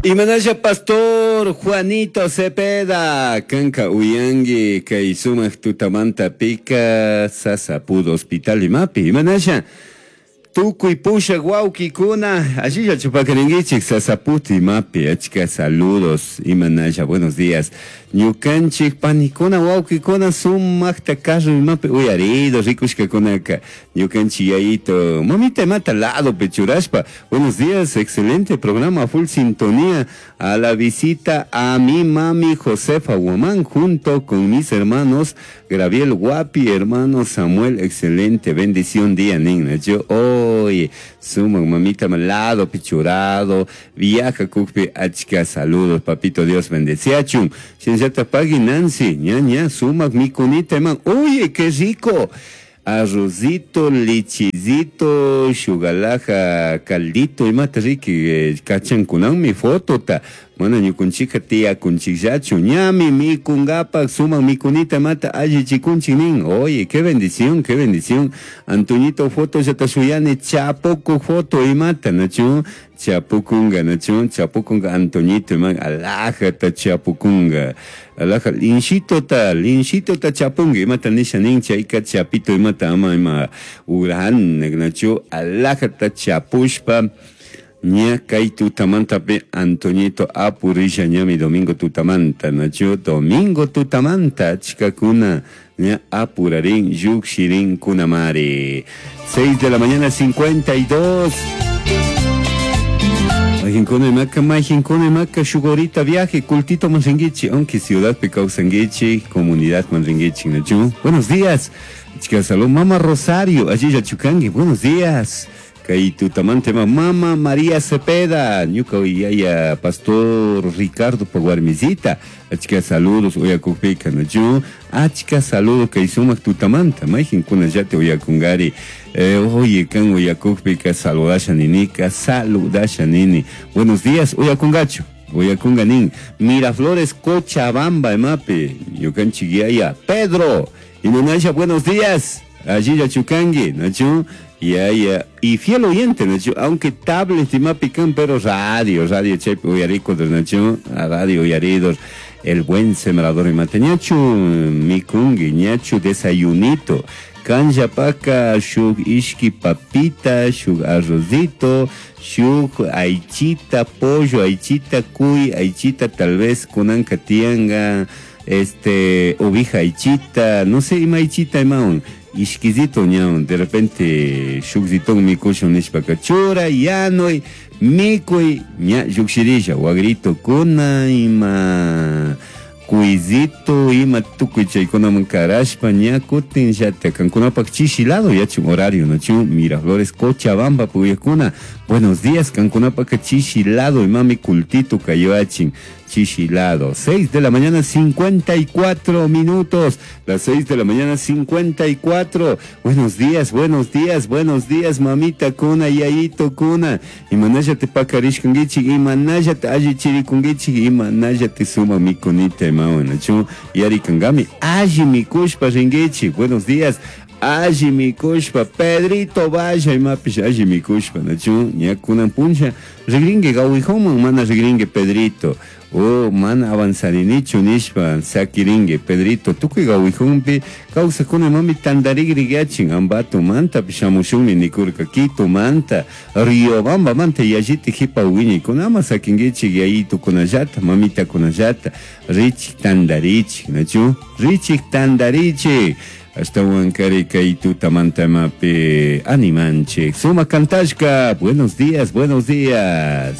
Imanasha pastor Juanito Cepeda, kanka uyangi kay sumak tutamanta pika Sasapud Hospital imapi. Imanasha tukuy pushak wawkikuna allilla chupakarinkichik Sasapud imapi achka saludos imanasha buenos días. Ñukanchik panikuna wawkikuna sumakta carro imapi uyarido rikushkakunaka ñukanchik yayito mamita imata ladopi churashpa. Buenos días, excelente programa, full sintonía. A la visita a mi mami Josefa Guamán junto con mis hermanos Graviel Guapi, hermano Samuel, excelente bendición día, niña. Yo hoy sumo mamita lado pichurado, viaja kukpi achka saludos, papito Dios bendeciachun. Shinllata pagui Nancy, ña ña, sumak mikunita man. Oye, qué rico. Arrocito, lechecito, shugalaja, caldito, imata riki, kachankunanmi fotota. Mana ñukunchika tiyakunchikllachu, ñami mikungapak, sumak mikunita imata allichikunchik nin. Oye, qué bendición, qué bendición. Antoñito foto llata shuyani, chapuku foto imata, nachu? Chapukunga, nachu? Chapukunga Antoñito, ima alajata chapukunga. Alaja, linchitota, linchitota chapunga, imata nisha nin, chayka chapito imata ama ima urahan, nachu? Alajata chapushpa. Ña kay tutamantapi Antoñito apurisha ñami domingo tutamanta, nachu? Domingo tutamanta, achkakuna, ña apurarin, yukshirin kunamari. 6 de la mañana, 52. Majinkuna imaka, majinkuna imaka, shugorita viaje, cultito manringuichi, aunque ciudad picausanguichi, comunidad manringuichi, nachu? Buenos días, chica salud, mamá Rosario, allí ya chucangui, buenos días. Kay tutamante mama María Cepeda, ñuka yaya pastor Ricardo Paguarmisita, achka saludos uyakukpika nachu, achka saludos kay sumak tutamanta, mayjinkuna llate uyakungari, oye kan uyakukpika saludasha ninika, saludasha nini. Buenos días, uyakungachu. Uyakunga nin, Miraflores Cochabamba, emape, ñukanchik yaya Pedro, Inunasha, buenos días, allí ya chucangui, nachu. Ya, ya, y fiel oyente, nachu, aunque tablet y mapican, pero radio, radio chepe, uyarico, nachu, a radio uyaridos, el buen sembrador y mate, ñachu, mikungui, ñachu, desayunito, kanja paka, shuk ishki papita, shuk arrocito, shuk aichita, pollo, aichita, cuy, aichita, tal vez kunanka tianga, ovija aichita, no sé, ima aichita, imaun. Ishkizito ñaun, de repente shukzitón mikushun nishpaka chura, yanui, mikuy, ña yukshirisha, wagrito kuna, ima cuizito, ima tukuy chaykunaman karashpa, ña kutin llata, kankunapak chishi lado, yachun horario, nachu, Miraflores, Cochabamba, puyakuna, buenos días, kankunapaka chishi lado, imami cultito kayoachin, chishi lado. 6 de la mañana, 54 minutos, las 6 de la mañana, 54. Buenos días, buenos días, buenos días, mamita kuna, yayito kuna. Imanaya te pakarishkungichik, imanaya te allichirikungichik, imanaya te suma mikunita, imawan, nachu, yarikangami, alli mikushpa ringichik. Buenos días. Alli mikushpa, Pedrito vaya imapish alli mikushpa, nachu, ña kunan puncha, rigringue gawijoman, mana rigringue Pedrito. Oh, mana avanzarinichu nishpa, sakiringue, Pedrito, tukuy gawijunpi, kawsakuna mami tandarigrigiachin, Ambato manta, shamushunmi nikurka, Quito manta, Riobamba manta, yalliti jipa wiñi, kunama sakinguichik yayito kunallata, mamita kunallata, richik tandarichik, nachu, richik tandarichik. Ashtawan kari kay tutamanta mapi animanchik. Suma kantashka, buenos días, buenos días.